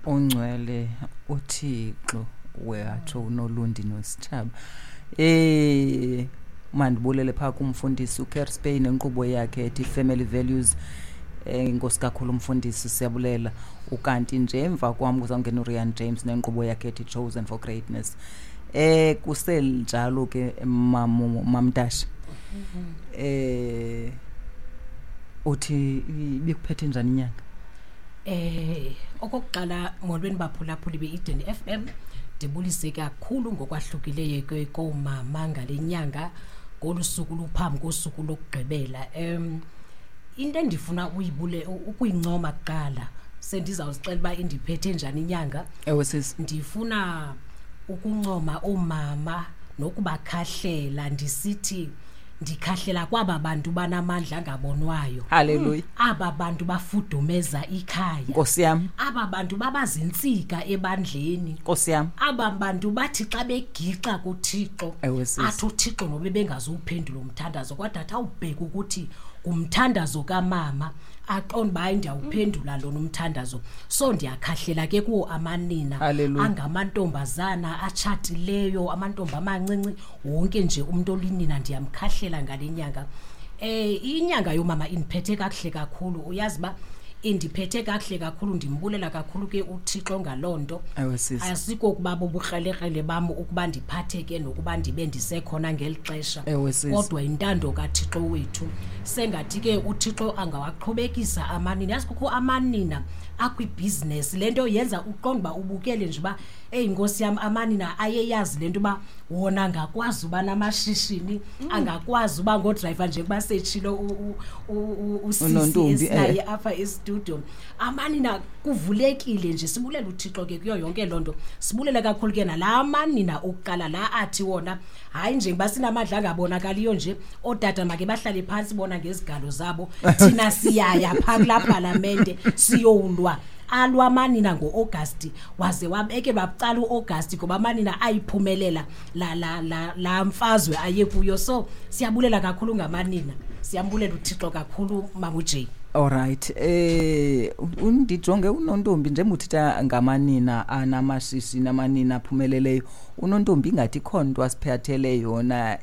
Ongcwele uThixo watsho uNolundi noSitshaba. Mandibulele phaa kumfundisi uKerspey nenkqubo yakhe ethi Family Values. Inkosi kakhulu umfundisi, siyabulela. Ukanti nje emva kwam kuzawungena uRian James nenkqubo yakhe ethi Chosen for Greatness. Kuselinjalo ke Mamtasha. Uthi ibikuphethe njani inyanga? Okokuqala molweni baphulaphuli be-Eden FM, ndibulise kakhulu ngokwahlukileyo ke koomama ngale nyanga ngolu suku luphambi kosuku lokugqibela. Into endifuna ukuyincoma kuqala, sendizawuzixela uba indiphethe njani inyanga. Ewe sisi. Ndifuna ukuncoma oomama nokubakhahlela, ndisithi ndikhahlela kwaba bantu banamandla angabonwayo. Hallelujah. Aba bantu bafudumeza ikhaya. Nkosi yam. Aba bantu babazintsika ebandleni. Nkosi yam. Aba bantu bathi xa begixa kuThixo, Ewe sisi. athi uThixo nobe bengazuwuphendula umthandazo, kodwa athi awubheke ukuthi ngumthandazo kamama, aqonde uba hayi ndiyawuphendula lona umthandazo. So ndiyakhahlela ke kuwo amanina. Hallelujah. Angamantombazana atshatileyo, amantombi amancinci, wonke nje umuntu olinina ndiyamkhahlela ngale nyanga. Inyanga yomama indiphethe kakuhle kakhulu. Uyazi uba indiphethe kakuhle kakhulu, ndimbulela kakhulu ke uThixo ngaloo nto. Ewe sisi. Asikokuba bubukrelekrele bam ukuba ndiphatheke nokuba ndibe ndisekhona ngeli xesha. Ewe sisi. Kodwa intando kaThixo wethu. Sengathi ke uThixo angawaqhubekisa amanina. Yazi kukho amanina akwibhizinesi. Le nto yenza uqonde uba ubukele nje uba, eyi nkosi yam, amanina ayeyazi le nto uba wona angakwazi uba namashishini, angakwazi uba ngodrayiva njengoba setshilo usisi Unontombi, esinaye apha estudio. Amanina kuvulekile nje, sibulela uThixo ke kuyo yonke loo nto. Sibulela kakhulu ke nalaa manina okuqala la athi wona hayi njengoba sinamandla angabonakaliyo nje, ootata make bahlale phantsi bona ngezigalo zabo, thina siyaya phaa kulaa palamente siyowulwa. Alwa amanina ngo-Agasti, waze wabekelwa bucala u-Agasti ngoba amanina ayiphumelela la mfazwe aye kuyo. So siyabulela kakhulu ngamanina, siyambulela uThixo kakhulu Mama uJay. All right. Undijonge uNontombi njengoba uthetha ngamanina anamashishini, amanina aphumeleleyo. uNontombi ingathi ikhona into asiphathele yona.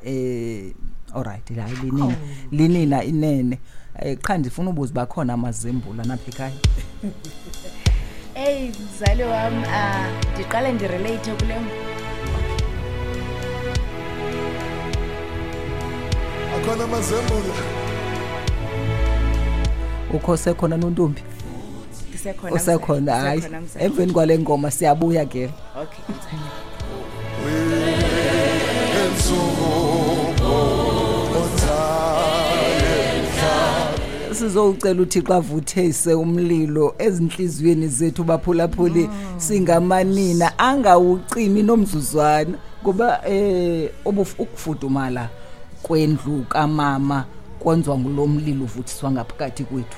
All right, hayi linina. Oh. Linina inene. Qha ndifuna ubuza uba khona amazembula napha ekhaya. Eyi, mzali wam, ndiqale ndirelate kule. Akhona amazembula. Ukho sekhona Nontombi? Ndisekhona, Usekhona, mzali. hayi. Ndisekhona, mzali. Emveni kwale ngoma siyabuya ke. Okay, mzali. Sizowucela uThixo avuthise umlilo ezinhliziyweni zethu baphulaphuli, singamanina angawucimi nomzuzwana, kuba ukufudumala kwendlu kamama kwenziwa ngulo mlilo uvuthiswa ngaphakathi kwethu.